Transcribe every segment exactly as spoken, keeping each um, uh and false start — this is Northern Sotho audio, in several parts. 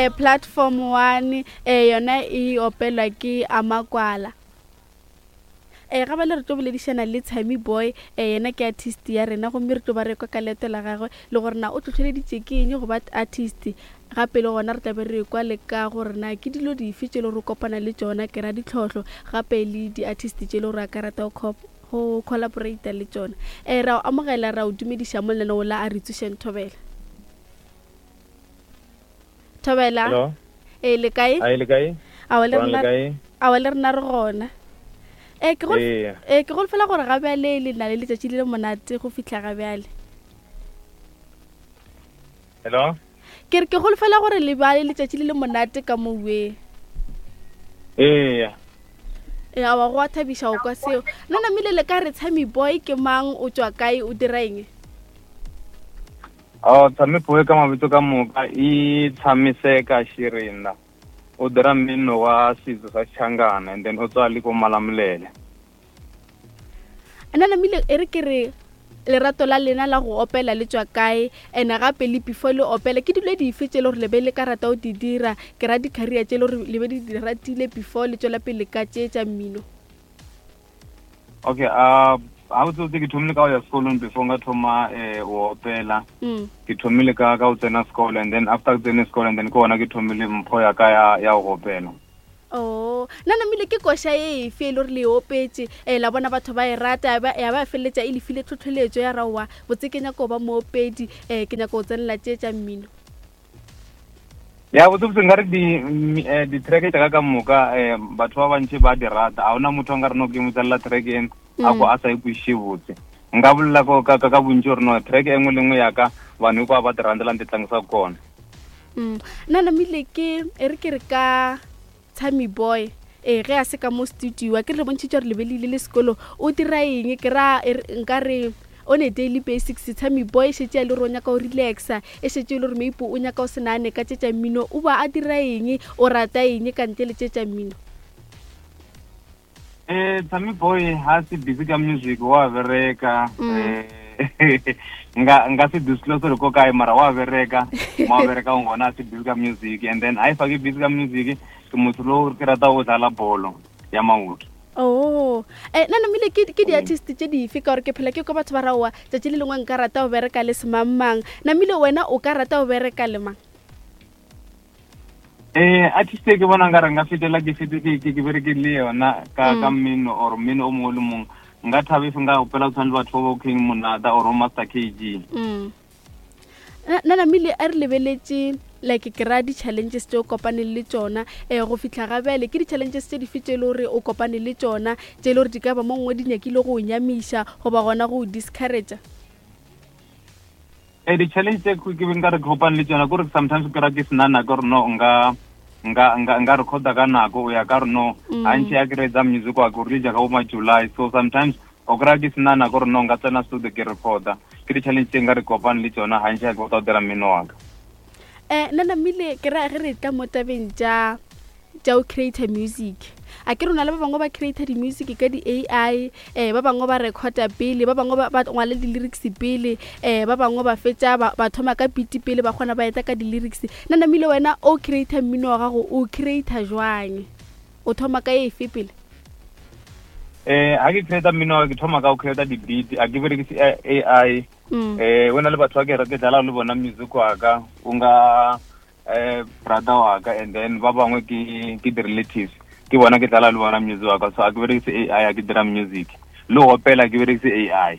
um platform one um yona e opelwa ke Amakwala. Um ga bale re tlo boledišana le Tshami Boy, um yena ke artist ya rena, gomme re tlo ba re kwa ka leeto la gagwe le gore na o tlhotlheleditše ke eng go ba artist. Gape le gona re tla be re kwa le ka gore na ke dilo dife tše le gore o kopana le tšona, ke ra ditlhohlo, gape le di-artist tše le gore a ka rata go go collaborata le tšona. Um ra o amogela, ra o dumediša mo lenaneo la A Re Tsošeng. Thobela, thobela. Hello. E le kae? A le kae? Awa le Gona le rena, kae? Awa le rena re gona. E ke gol Ee. E ke golofela gore ga bjale le na le letšatši le le monate go fihla ga bjale. Hello. Ke re ke golofela gore le ba le letšatši le le monate ka mowe. Ee. E awa go a thabiša go kwa seo. Nna namile le ka re Tshami Boy ke mang, o tšwa kae, o dira eng? Oh, Tshami Boy ka mabitso ka moka e Tshamiseka Shirinda. O dira mmino wa setso sa Xichangana and then o tswa le ko Malamulele. Nna namile e re ke re lerato la lena la go opela le tšwa kae, ene gape le before le opela ke dilo dife tše le gore le be le ka rata go di dira, ke ra di-career tše le gore le be di di ratile before le tšwela pele ka tše tša mmino? Okay, uh ha o tsotse ke thomile ka go ya sekolong before nka thoma eh go opela. Mm. Ke thomile ka ka go tsena sekolo and then after ke tsene sekolo and then ke gona ke thomile mpho ya ka ya ya go opela. Oh, nna namile ke koša e efe e le gore le e opetše um la bona batho ba e rata ya ba ya ba feleletša e le file tlhotlheletšo ya raowa botse ke nyaka go ba moopedi, um ke nyaka go tsenela tše tša mmino? Ya, botse botse nkare di mm, eh, di-track tša ka ka moka eh batho ba bantši ba di rata. A hona motho a nkare no ke mo tselela track e a ko a sa e kwešiše botse. Nka bolela ko ka ka ka bontši gore no track e nngwe le nngwe ya ka vanhu hinkwavo va ti rhandzela ni ti tlangisaka kona. Mm. Nna namile ke e re ke re ka Tshami Boy ee ge a se ka mo studio, a ke re le bontšhitše gore le be le ile le sekolo, o dira eng? Ke ra e re- nka re on a daily basics Tshami Boy e šetše a le gore o nyaka go relaxa, e šetše e le gore maybe o nyaka go se nagane ka tše tša mmino, o ba a dira eng, o rata eng ka ntle le tše tša mmino? Eh Tshami Boy ha se busy ka music wa bereka. Mm. Eh nga nga se disclose gore ko kae, mara wa bereka mo a bereka gona, a se busy ka music. And then ha e fa ke busy ka music, ke motho lo ke rata go dlala bolo ya maoto. Oh, eh nna namile ke ke di-artist tše dife, ka gore ke phela ke kwa batho ba raowa tšatši le lengwe nka rata go bereka le semangmang, namile wena o ka rata go bereka le mang? Eh artist e ke bona nkare nka fetela ke fete ke ke ke bereke le yona ka Mm. ka mmino or mmino o mongwe le mongwe, nka thaba if nka opela go tshwana le batho ba bo King Monada or Master K G. Mm. nna nna namile a re lebeletše like ke ra di-challenges tše o kopaneng le tšona um go fihla ga bjale, ke di-challenges tše dife tše e le gore o kopane le tšona, tše e le gore di ka ba mo nngwe di nyakile go o nyamiša goba gona go o discouragea? Eh di-challenge tse ke be nka re ke kopane le tsona kore sometimes ke ra ke sena nako gore no nka nka nka nka recorda ka nako o ya ka re no Mm. gantši ya ke reetsa music wa ke o releasa ka bo ma July, so sometimes o kry-a ke sena nako gore no nka tsena studio ke recorda. Ke di-challenge tse nka re kopane le tsona gantši ya ke bota go dira mmino wa ka. um nna namile ke ra ge re tla mo tabeng tša tša go creator music, a ke rona le ba bangwe ba creator di-music ka di-A I, um ba bangwe ba recorda pele, ba bangwe ba ba ngwala di-lyrics pele, um ba bangwe ba fetša ba ba thoma ka beat pele, ba kgona ba eta ka di-lyrics. Nna namile wena o creator mmino wa gago, o creator jwang, o thoma ka efe pele? Eh ha ke creata mmino wa ka, ke thoma ka go creata di-beat, a ke berekise A I. Mm. Eh o na le batho ba ke ke dlala le bona music wa ka, o nga eh brother wa ka and then ba bangwe ke ke di-relatives, ke bona ke dlala le bona music wa ka. So a ke berekise A I a ke dira music, le go opela ke berekise A I.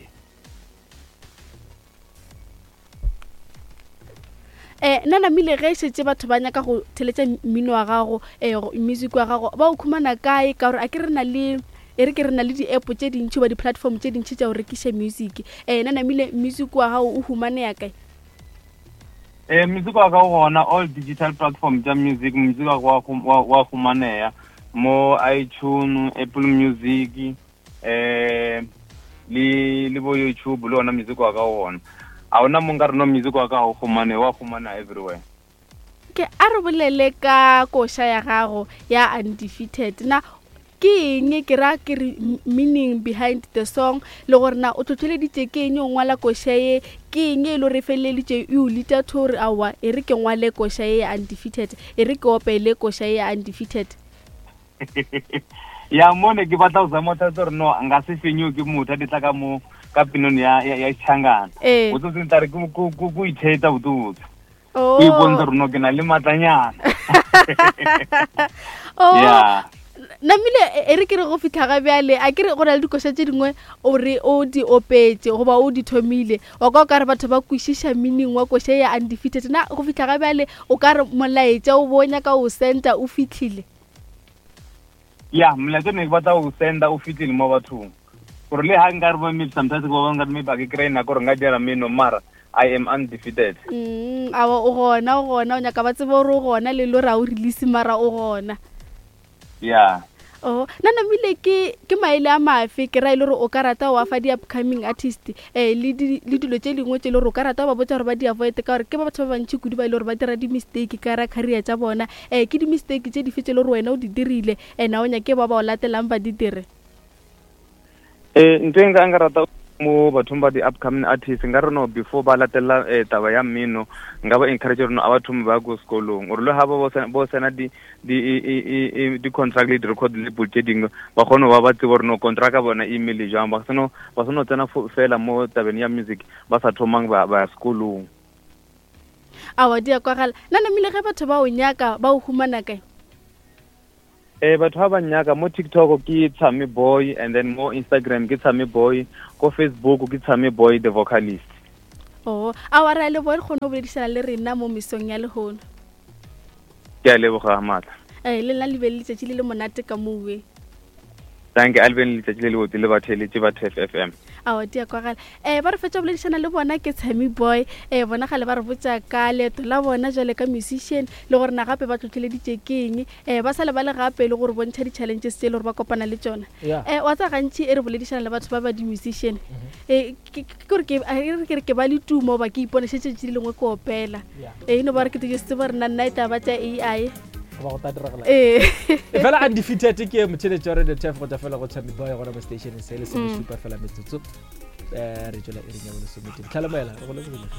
um nna namile ge e šetše batho ba nyaka go theletša mmino wa gago, um music wa gago, ba o khumana kae? Ka gore a ke re na le e re ke re na le di-app tše dintšhi ba di-platform tše dintšhi tša go rekiša music. um nna namile music wa gago o humanea kae? Eh music wa ka o gona all digital platform tša music. Music wa ka wa hum- wa wa humaneya mo iTunes, Apple Music, eh le le bo YouTube, le ona music wa ka o gona. A ona mo nka re no music wa ka ga o humane, wa humana everywhere. Ke a re bolele ka koša ya gago ya Undefeated. Na Ke eng ke ra ke re meaning behind the song, le gore na o tlhotlheleditše ke eng o ngwala koša ye, ke eng e le gore e feleleditše e o leada to gore aowa e re ke ngwale koša ye ya Undefeated, e re ke opele koša ye ya Undefeated? Ya, mo ne ke batla go zama go gore no nka se fenyiwe ke motho a di tla ka mo ka pinong ya ya ya Tšhangana. Ee. O tsotse tla re ke ko ko itheta botse Oh. o ipontsha gore no ke na le matlanyana. Oh. Yeah. Namile e re ke re go fitlha ga bjale, a ke re go na le dikoša tše dingwe o re o di opetse goba o di thomile, wa kwa o ka re batho ba kwešiša meaning wa koša ya Undefeated. Na go fitlha ga bjale o ka re molaetša o bo nyaka o senda o fitlhile? Ya, molaetša ne ke batla go senda o fitlhile mo bathong, gore le ha nka re bo maybe sometimes ke ba nka maybe a ke kry nako gore nka dira mmino, mara I am undefeated. mm awa o gona, o gona, o nyaka ba tsebe gore o gona, le le gore a o release mara o gona. Ya. Oh, na namile ke ke maele a mafe ke ra e le gore o ka rata wa fa di-upcoming artist, um le di- le dilo tše dingwe tše e le gore o ka rata ba botsa gore ba di avoid, ka gore ke ba batho ba bantši kudu ba e le gore ba dira di-mistake ka ra career tša bona? um ke di-mistake tše dife tše e le gore wena o di dirile and a o nyake ba ba o latelang ba di dire? Eh, ntho e nka nka rata mo bathong ba di-upcoming artists, nka re no before ba latela eh, taba ya mmino, nka ba encourage gore no a ba thome ba ko sekolong, gore le ga ba bo sena di di i- i- di-contract le di-record label tše dingwe, ba kgone go ba ba tsebe gore no contract ya bona e imele jang, ba seno ba seno tsena fo- fela mo tabeng ya music ba sa thomang ba ba ya sekolong. Awa, di a kwagala. Na namile ge batho ba o nyaka ba o humana kae? Eh, batho ba ba nyaka mo TikTok ke Tshami Boy, and then mo Instagram ke Tshami Boy, ko Facebook ke Tshami Boy the Vocalist. Oh, awa, re a leboga re kgone go boledišana le rena mo mesong ya lehono. Ke a leboga maatla. um le nna le be le letšatši le le monate ka mowe. Thank you, alben letšatši le le botse le batheletše ba T F F M. Awa, di a kwagala. um ba re fetša go boledišana le bona ke Tshami Boy. um bona gale ba re botša ka leeto la bona jwale ka musician, le gore na gape ba tlhotlheleditše ke eng, um ba sa lebale gape le gore bontšha di-challenges tse e le gore ba kopana le tsona. Yeah. um wa tsa gantši e re boledišana le batho ba ba di-musician, um ke ke gore ke a re ke re ke ba le tumo ba ke ipone šetše tše lengwe ke opela. Yeah. E no ba re ke tse tsebe gore nna nna e taba tša A I. Goba go tla diragala. Ee. Fela Undefeated ke motheletši wa Radio Turf go tšwa fela go Tshami Boy gona mo stationeng se le se šupa fela metsotso, um re tswela iring ya bolesomete tlhalomoela re go lebogile.